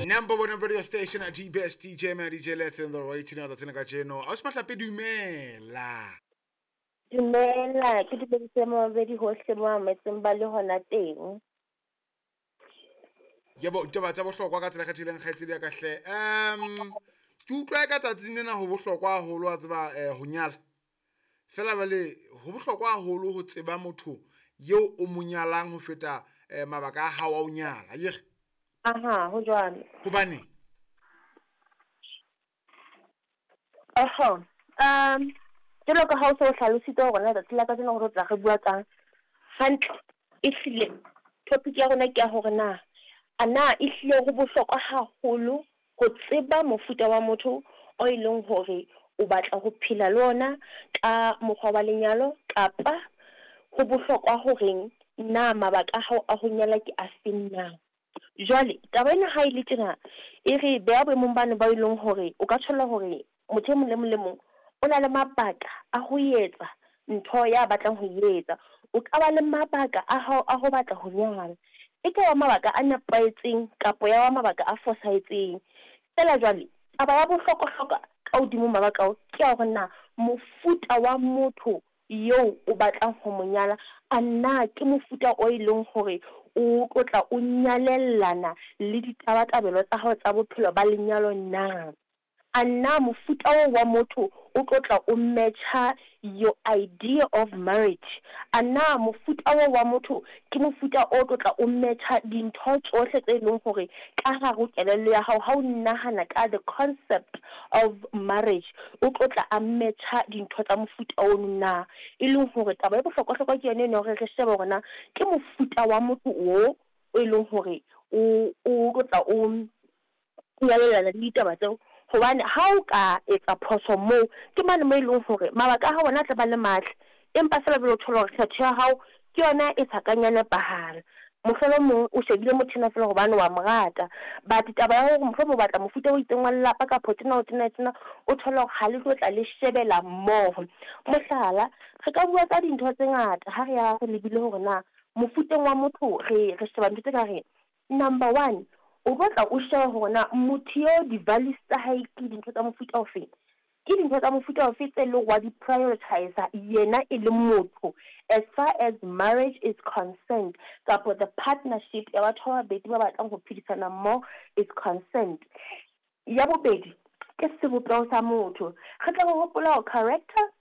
Number one radio station at GBS DJ man DJ Let's in the rating other tsena kajeno. Ausi Mahlape, dumela. Dumela, ke dumedise mabedi hohle mo ametseng ba le hona teng. Yebo, ditaba tsa bohlokwa ka tsela e kgethileng kgaitsedi ya ka hle. Ke utlwa ka tsatsing lena ho bohlokwa haholo wa tseba ho nyala. Fela jwale ho bohlokwa haholo ho tseba motho eo o mo nyalang ho feta mabaka a hao a ho nyala. Akere? Aha, ho jwalo. Hobaneng? Oho, jwalo ka ha o se o hlalositse hore na tsatsi la kajeno re tlo tla re bua kang, hantle ehlile topic ya rona ke ya hore na a na ehlile ho bohlokwa haholo ho tseba mofuta wa motho o e leng hore o batla ho phela le ona ka mokgwa wa lenyalo, kapa ho bohlokwa horeng na mabaka a hao a ho nyala ke a feng na. Jwale taba ena ha e le tjena e re beha boemong bane ba e leng hore o ka thola hore motho e mong le mong le mong o na le mabaka a ho etsa ntho ya batlang ho etsa. O ka ba le mabaka a hao a ho batla ho nyala, e ka ba mabaka a nepahetseng kapa ya ba mabaka a fosahetseng. Feela jwale taba ya bohlokwa-hlokwa ka hodimo mabaka ao ke ya hore na mofuta wa motho eo o batlang ho mo nyala a na ke mofuta o e leng hore o tlo tla o nyalellana le ditabatabelo tsa hao tsa bophelo ba lenyalo na. A na mofuta oo wa motho o tlo tla o match-a your idea of marriage? A na mofuta oo wa motho ke mofuta o tlo tla o match-a dintho tsohle tse leng hore ka hare ho kelello ya hao ha o nahana ka the concept of marriage, o tlo tla a match-a dintho tsa mofuta ono na? E leng hore taba e bohlokwa-hlokwa ke yona eno hore re shebe hore na ke mofuta wa motho o e leng hore o tlo tla o nyalellana le ditaba tseo. Hobane ha o ka etsa phoso moo, ke mane mo e leng hore mabaka a hao ona a tla ba le matle, empa feela jwale o thola hore kgetho ya hao ke yona e sa kang ya nepahala. Mohlolomong o shebile motho enwa feela hobane wa mo rata, but taba ya hore mohlomong o batla mofuta o itseng wa lelapa kapa tjena o tjena tjena, o thola hore ha le tlo tla le shebela mmoho. Mohlala, re ka bua ka dintho tse ngata ha re ya re lebile hore na mofuteng wa motho re sheba ntho tse ka reng. Number one, o tlo tla o sheba hore na motho eo di-values tsa hae ke dintho tsa mofuta ofeng, ke dintho tsa mofuta ofe tse leng wa di-prioritize yena e le motho as far as marriage is concerned, kapa the partnership ya batho ba babedi ba batlang ho phedisana mmoho is concerned. Ya bobedi ke sebopeho sa motho, re tla re hopola hore character